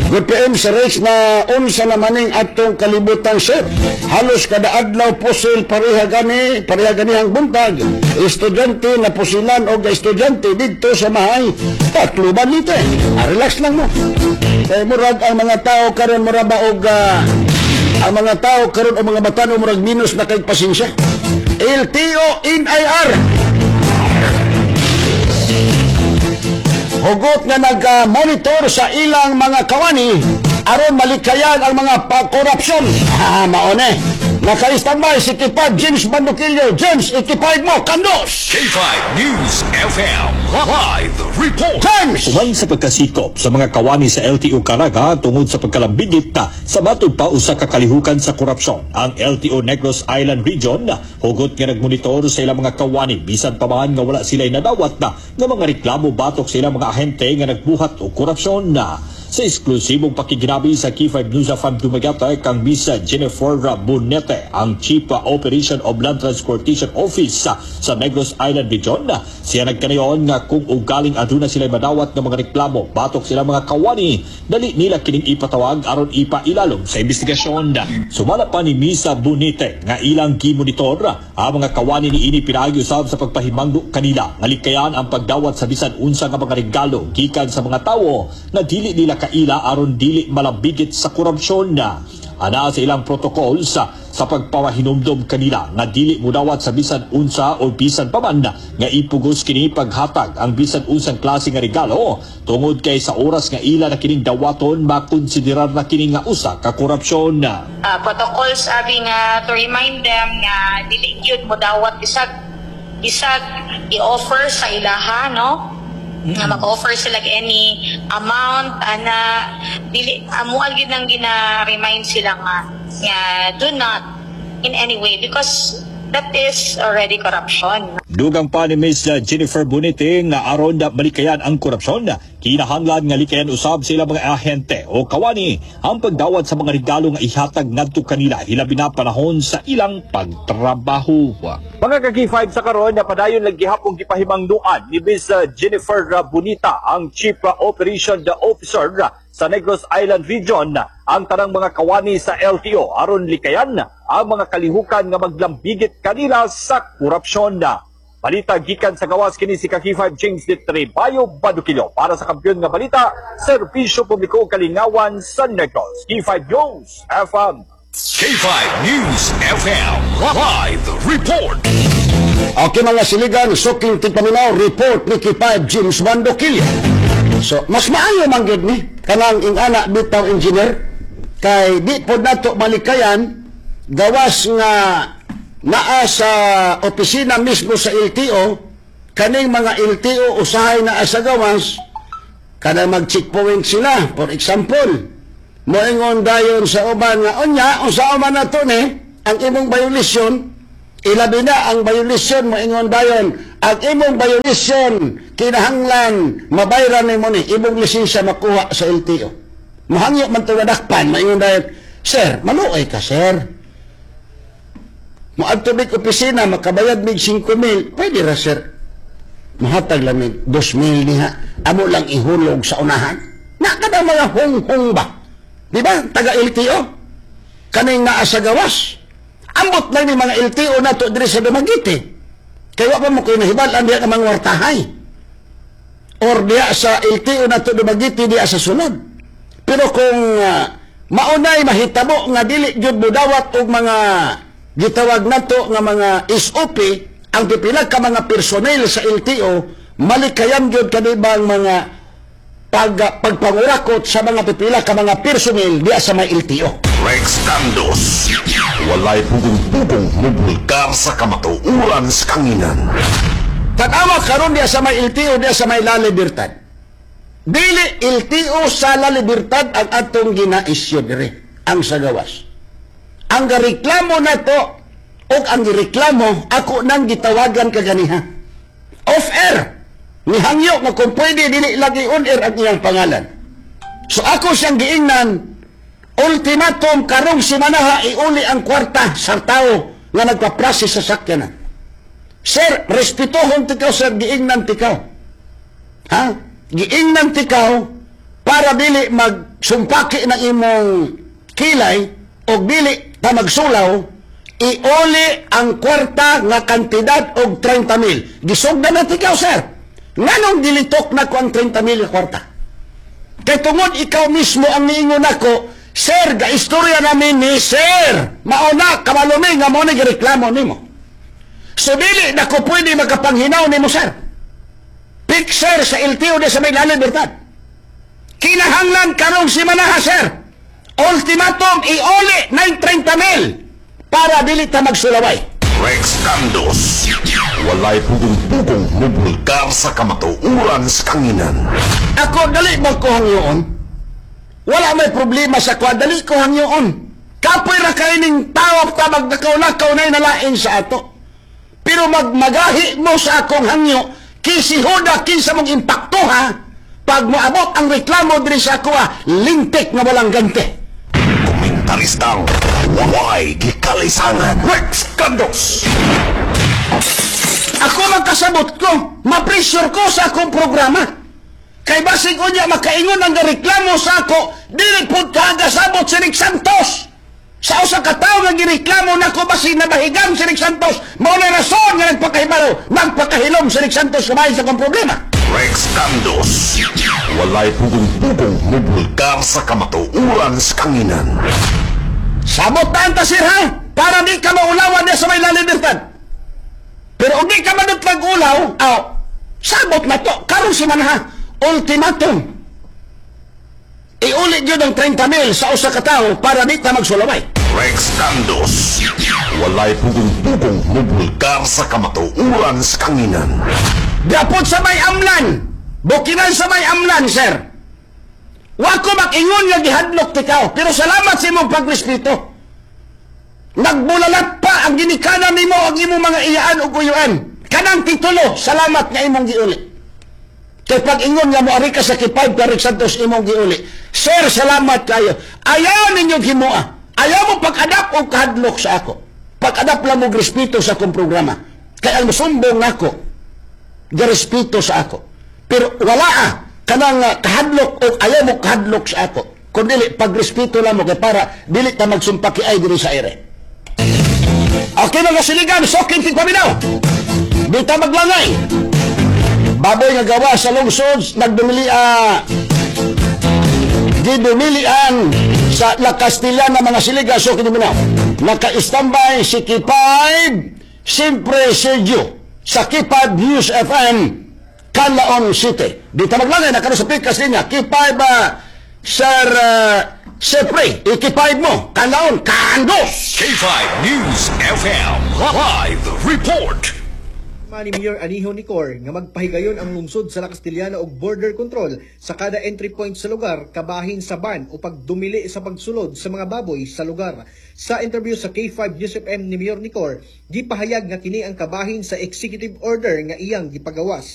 Good PM sa Rex na unsa naman ning atong kalibutan, sir. Halos kada adlaw pusil, pareha gani, pareha gani ang buntag. Estudyante na pusilan og estudyante didto sa mahay Tacloban nito eh. Ah, relax lang mo. Kay murag ang mga tao karon, mura ba og ang mga tao karon o mga batan murag minus na kay pasensya. LTO NIR hugot nga nag-monitor sa ilang mga kawani aron malikayan ang mga pa-korupsyon. Ha, maone. Naka-standby si K5 James Bandukillo. James, i-K5 mo, kandos! K5 News FM Live Report. James! Uman sa pagkasikop sa mga kawani sa LTO Caraga tungod sa pagkalambigit na sa matod pa usa ka kalihukan sa korupsyon. Ang LTO Negros Island Region hugot nga nagmonitor sa ilang mga kawani bisan pa man nga wala sila nadawat na nga mga reklamo batok sa ilang mga ahente nga nagbuhat og korupsyon na. Sa eksklusibong pakiginabi sa K5 News FM Dumaguete kang Miss Jennifer Bonete, ang Chief Operation of Land Transportation Office sa Negros Island Region. Siya nagkanayon nga kung ugaling aduna sila madawat ng mga reklamo batok sila mga kawani, dali nila kining ipatawag aron ipailalom sa investigasyon. Sumala pa ni Miss Bonete nga ilang gimonitor ang mga kawani niini pinaagi usab sa pagpahimangno kanila nga likayan ang pagdawat sa bisan unsa nga mga regalo gikan sa mga tawo na dili nila kaila aron dili malambigit sa korupsyon na. Ana sa ilang protocol sa pagpapahinumdom kanila nga dili mudawat sa bisan unsa o bisan pa man nga ipugos kini paghatag ang bisan unsang klase nga regalo tungod kay sa oras nga ila na kining dawaton, makonsiderar na kini nga usa ka korupsyon. Protocols abi nga to remind them nga dili gyud mo dawat bisag bisag i-offer sa ilaha, no, nga mag-offer sila og any amount ana, dili amo gyud nang gina-remind sila nga do not in any way, because that is already corruption. Dugang pa ni Ms. Jennifer Bonete nga aron na malikayan ang korupsyon, kinahanglan nga likayan usab sila mga ahente o kawani ang pagdawat sa mga regalo nga ihatag ngadto kanila, hilabi na panahon sa ilang pagtrabaho. Mga ka-K5, sa karon na padayon lang gihapon gipahimangnuan ni Ms. Jennifer Bonita, ang Chief Operation Officer sa Negros Island Region, ang tanang mga kawani sa LTO aron likayan ang mga kalihukan nga maglambigit kanila sa korupsyon. Balita gikan sa gawas, kini si ka-K5 James Litre Bayo Badukilo para sa kampiyon nga balita, serbisyo publiko, kalingawan sa Negros. K5 News FM. K5 News FM Live Report. Okay, mga siligan, suking tigpaminaw, report ni K5 James Bandokillo. So, mas maayo man gyud ni kanang ingana bitaw, engineer, kay di pod nato malikayan gawas nga naa sa opisina mismo sa LTO kaning mga LTO. Usahay naa sa gawas kanang mag-checkpoint sila, for example, moingon dayon sa uban nga unya unsa man nato ni ang imong violation, ilabi na ang violation, moingon dayon ang imong violation kinahanglan mabayran nimo ni imong lisensya makuha sa LTO. Mohangyo man to dakpan, moingon dayon, "Sir, maluoy ka, sir, moadto mig opisina, makabayad mig 5,000, pwede ra, sir, mahatag lang mig 2,000 niha, amo lang ihulog sa unahan." Na kada mga hung-hung ba, di ba, taga LTO kaning naa sa gawas. Ambot lang ni mga LTO nato diri sa Dumaguete kay wa pa mo koy nahibal-an diha ka mga wartahay or diha sa LTO nato Dumaguete diha sa sulod. Pero kung maunay mahitabo nga dili gyud modawat og mga gitawag nato nga mga SOP ang pipila ka mga personnel sa LTO, malikayan gyud kanibang mga pagpangurakot sa mga pipila ka mga personnel diha sa may LTO. Rex Dandos. Walay pugong-pugong mubulgar sa kamatuuran sa kanginan. Tanawa karon diha sa may LTO diha sa may La Libertad. Dili LTO sa La Libertad ang atong gina-isyu dire, ang sa gawas. Ang gareklamo nato og ang gireklamo ako nang gitawagan kaganiha. Off air. Nihangyo nga kung pwede dili lagi on air ang iyang pangalan. So ako siyang giingnan, ultimatum, karong simanaha iuli ang kwarta sa tao nga nagpa-process sa sakyanan. Sir, respetuhon tikaw, sir, giingnan tikaw. Ha? Giingnan tikaw. Para dili magsumpaki ng imong kilay o dili ta magsulaw, iuli ang kwarta nga kantidad og 30 mil. Gisugdan na ikaw, sir. Nganong gilitok na ko ang 30 mil nga kwarta? Kay tungod ikaw mismo ang niingon nako, "Sir, ga-istorya namin ni sir." Mauna, kabalo mi nga mo ni gireklamo nimo. So dili na ko pwede makapanghinaw nimo, sir. Fixer sa LTO de sa may La Libertad. Kinahanglan karong simanaha, sir. Ultimatum, iuli 930 mil para dili ta magsulaway. Rex Candos. Walay pugong-pugong mubulgar sa kamatuuran sa kanginan. Ako, dali ba ko hangyoon? Wala may problema sa kwa, dali ko hangyoon. Kapoy ra kay ning tao ta magnakaw-nakaw na nalain sa ato. Pero magmagahi mo sa akong hangyo, kisi huda kinsa mong impakto ha, pag moabot ang reklamo diri sa ako ha, lintik nga walang gante. Komentaristang way gikalisangan. Rex Candos. Ako magkasabot ko, ma-pressure ko sa akong programa. Kay basig unya makaingon ang reklamo sa ako, dili pud kagasabot si Rick Santos. Sa usa ka tawo nga gireklamo nako, basig nabahigan si Rick Santos, mao na rason nga nagpakahibalo, nagpakahilom si Rick Santos kumain sa akong problema. Rex Candos. Walay pugong-pugong mubulgar sa kamatuuran sa kanginan. Sabot na ang tasir ha, para di ka maulawan niya sa may La Libertad. Pero kung di ka manutlag ulaw, aw, sabot na to, karon si manha, ultimatum. Iulit yun ang 30 mil sa usa ka tawo para di ta magsulaway. Rex Candos. Walay pugong-pugong mubulgar sa kamatuuran sa kanginan. Gapot sa may amlan, bukinan sa may amlan, sir. Wa ko makingon nga gihadlok tikaw, pero salamat sa imong pagrespeto. Nagbulalat pa ang ginikanan nimo ang imong mga iyaan ug uyuan. Kanang titulo, salamat nga imong giuli. Kay pag ingon nga moari ka sa K5 Tarik Santos imong giuli. Sir, salamat kayo. Ayaw ninyo himoa. Ayaw mo pag-adapt og kahadlok sa ako. Pag-adapt lang mo respeto sa akong programa. Kay ang musumbong nako, garespeto sa ako. Pero wala kanang kahadlok o ayaw mo kahadlok sa ako. Kung dili, pagrespeto lang mo kay para dili ta magsumpaki ay diri sa ere. Okay mga siligan, so kinting paminaw. Di ta maglangay. Baboy nga gawa sa lungsod, nagdumili gidumilian sa La Castellana, mga siliga, so kiniminaw. Naka-standby si K5, siyempre Sergio, sa K5 News FM, Canlaon City. Di ta maglangay, nakano sa pikas niya, K5, Sir, siyempre, i-K5 mo, Canlaon, Kandos! K5 News FM Live Report. Ni Mayor Anijo Nicor nga magpahigayon ang lungsod sa La Castellana og border control sa kada entry point sa lugar kabahin sa ban o pagdumili sa pagsulod sa mga baboy sa lugar. Sa interview sa K5 News FM ni Mayor Nicor, gipahayag nga kini ang kabahin sa executive order nga iyang gipagawas.